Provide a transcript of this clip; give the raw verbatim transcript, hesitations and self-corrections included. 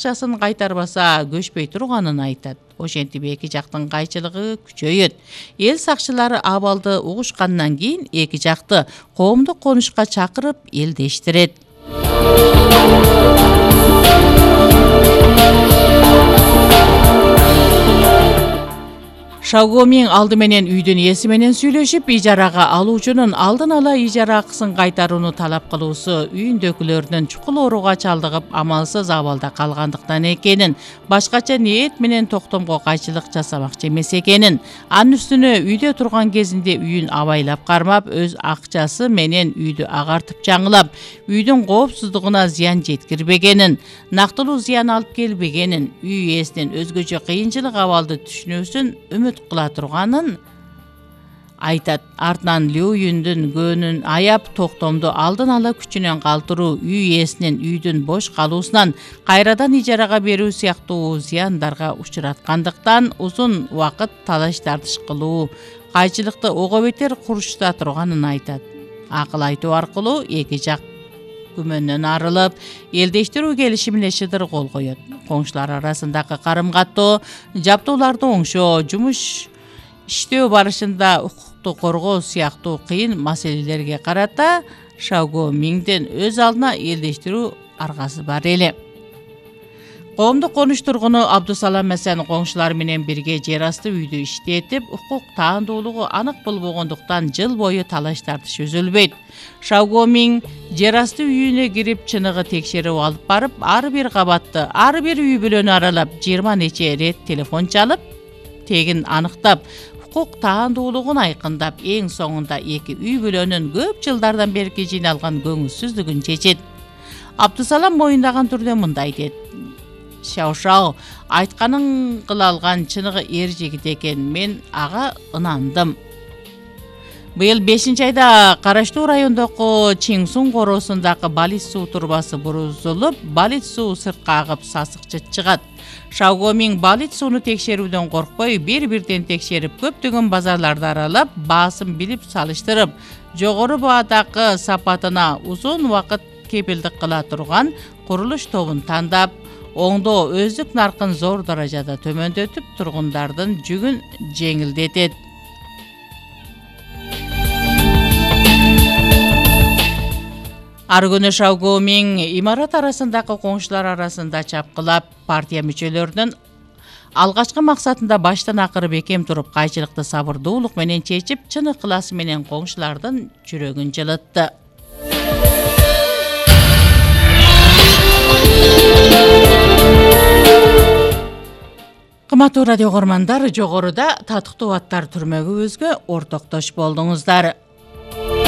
акчасын кайтарбаса көчпөй турганын айтат. Ошентип эки жактын кайчылыгы күчөйөт. Эл сакчылары абалды угушкандан кийин эки жакты коомдук конушка чакырып элдештирет. Шаогомин алды менен үйдүн ээси менен сүйлөшүп, ижарага алуучунун алдын ала ижара акысын кайтарууну талап кылуусу үйүндөгүлөрүнүн чукул ооруга чалдыгып, амалсыз абалда калгандыктан экенин, башкача ниет менен токтомго кайчылык жасамакчы эмес экенин, анын үстүнө үйдө турган кезинде үйүн абайлап кармап, өз акчасы менен үйдү агартып жаңылап, үйдүн коопсуздугуна зыян жеткирбегенин, нактылуу зыян алып келбегенин, үй ээсинин өзгөчө кыйынчылык абалды түшүнүүсүн үмүт кыла турганын айтат. Артынан Леуюндун көөнүн аяп, токтомду алдын ала күчүнөн калтыруу, үй ээсинин үйдүн бош калуусунан кайрадан ижарага берүү сыяктуу зыяндарга учураткандыктан узун убакыт талаш тартыш кылуу кайчылыкты ого бетер курчута турганын айтат. Акыл айтуу аркылуу эки жак күмөндөн арылып, элдештирүү келишимине шыдыр кол коет. Коңшулар арасындагы карым-каттоо, жаптоолорду оңшоо, жумуш иштөө барышында укукту коргоо сыяктуу кыйын маселелерге карата Шаогоминдин өз алдына элдештирүү аргасы бар эле. Коомдук конуш тургуну Абдусалам Эсен коңшулар менен бирге жер асты үйдү иштетип, укук таандуулугу анык болбогондуктан жыл бою талаш тартыш үзүлбөйт. Шаогомин жер асты үйүнө кирип, чыныгы текшерип алып барып, ар бир кабатты, ар бир үй бүлөнү аралап, жыйырма нече рет телефон чалып, тегин аныктап, укук таандуулугун айкындап, эң соңунда эки үй бүлөнүн көп жылдардан берки жыйналган көңүлсүздүгүн чечет. Абдусалам моюндаган түрдө мындай дейт: Шаошао, айтканын кыла алган чыныгы эр жигит экен, мен ага ынандым. Быйыл бешинчи айда караштуу райондогу Чиңсун короосундагы балит суу турбасы бурузулуп, балит суу сыртка агып, сасык чыгат. Шаогомин балит сууну текшерүүдөн коркпой, бир-бирден текшерип, көптөгөн базарларды аралап, баасын билип салыштырып, жогору баадагы сапатына узун убакыт кепилдик кыла турган курулуш тобун тандап, оңдоо өздүк наркын зор даражада төмөндөтүп, тургундардын жүгүн жеңилдетет. Ар күнү Шаогомин имарат арасындагы коңшулар арасында чапкылап, партия мүчөлөрүнүн алгачкы максатында баштан акыры бекем туруп, кайчылыкты сабырдуулук менен чечип, чын ыкыласы менен коңшулардын жүрөгүн жылытты. Кымбаттуу радио көрөрмандар, жогоруда татыктуу аттар түрмөгүбүзгө ортоктош болдуңуздар.